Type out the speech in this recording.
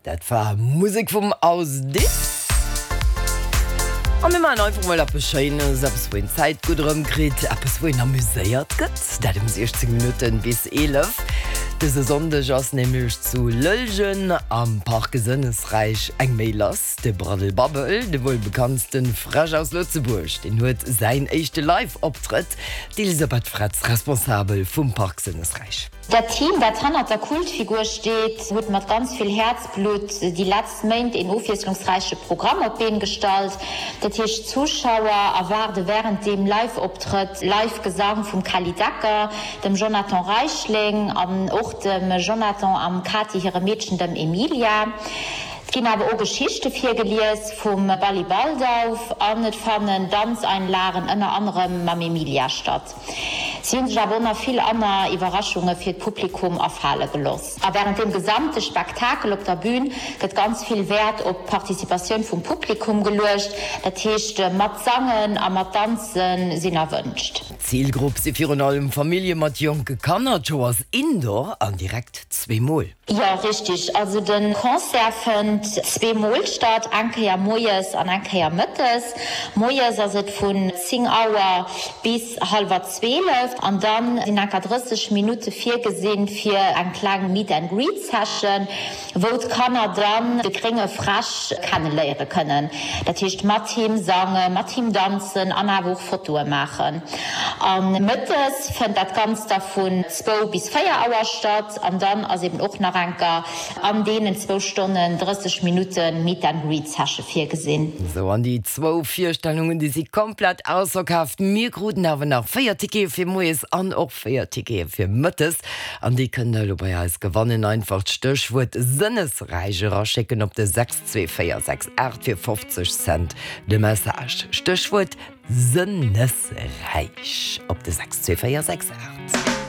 Dat war Musek vum Aus Dips. A mir maachen einfach mol eppes Schéines, eppes wou een d'Zäit gutt erëmkritt, eppes wou een amuséiert gëtt. Dat ëm 16 Minutten bis 11. Dëse Sonndeg ass nämlech zu Lëllgen am Parc Sënnesräich eng Méi lass. De Braddel Babbel, de wuel bekanntste Fräsch aus Lëtzebuerg, deen huet säin éischte Live-Optrëtt. D'Elisabeth Fretz, Responsabel vum Parc Sënnesräich. Dat Team, dat hannert der Kultfigur steet, huet mat ganz vill Häerzblutt déi letzt Méint een ofwiesslungsräiche Programm op d'Been gestallt. Dat heescht, d'Zuschauer erwaarde wärend deem Live-Optrëtt live Gesang vum Kelly Decker, dem Jonathan Reichling an och dem Jonathan am Kati hire Meedchen, dem Emilia. Et ginn awer och Geschichte virgelies vum Bally Baldauf an et fannen Danzeinlagen ënner anerem mam Emilia statt. Si hunn sech awer och nach vill anner Iwwerraschunge fir d'Publikum afale geloss. A wärend deem gesamte Spektakel op der Bühn gëtt ganz vill Wäert op d'Participatioun vum Publikum geluecht, dat heescht mat sangen a mat danze sinn erwënscht. D'Zilgrupp si virun allem Famillje mat jonke Kanner. D'Show ass indoor an direkt zweemol. Jo, richtig. Also de Concert fënnt zweemol statt, eng Kéier moies an eng Kéier mëttes. Moies ass et vun 10 Auer bis hallwer 12 an dann sinn enker 30 Minutte virgesinn fir eng kleng Meet and Greet Session, wou d'Kanner dann de grénge Fräsch kenneléiere kënnen. Dat heescht mat him sangen, mat him danzen an awer och Fotoe maachen. A mëttes fënnt dat Ganzt da vun zwou bis 4 Auer statt. An dann ass eben och nach enker an deenen zwou Stonnen 30 Minutte Meet and Greet Session virgesinn. Sou, an déi zwou Virstellungen, déi si komplett ausverkaaft. Mir kruten awer nach 4 Tickete fir moies an och 4 Tickete fir mëttes. An déi kënnt der elo bei eis gewannen. Einfach d'Stéchwuert Sënnesräich eraschécken op de 62468 fir 50 Cent de Message. Stéchwuert Sënnesräich op de 62468.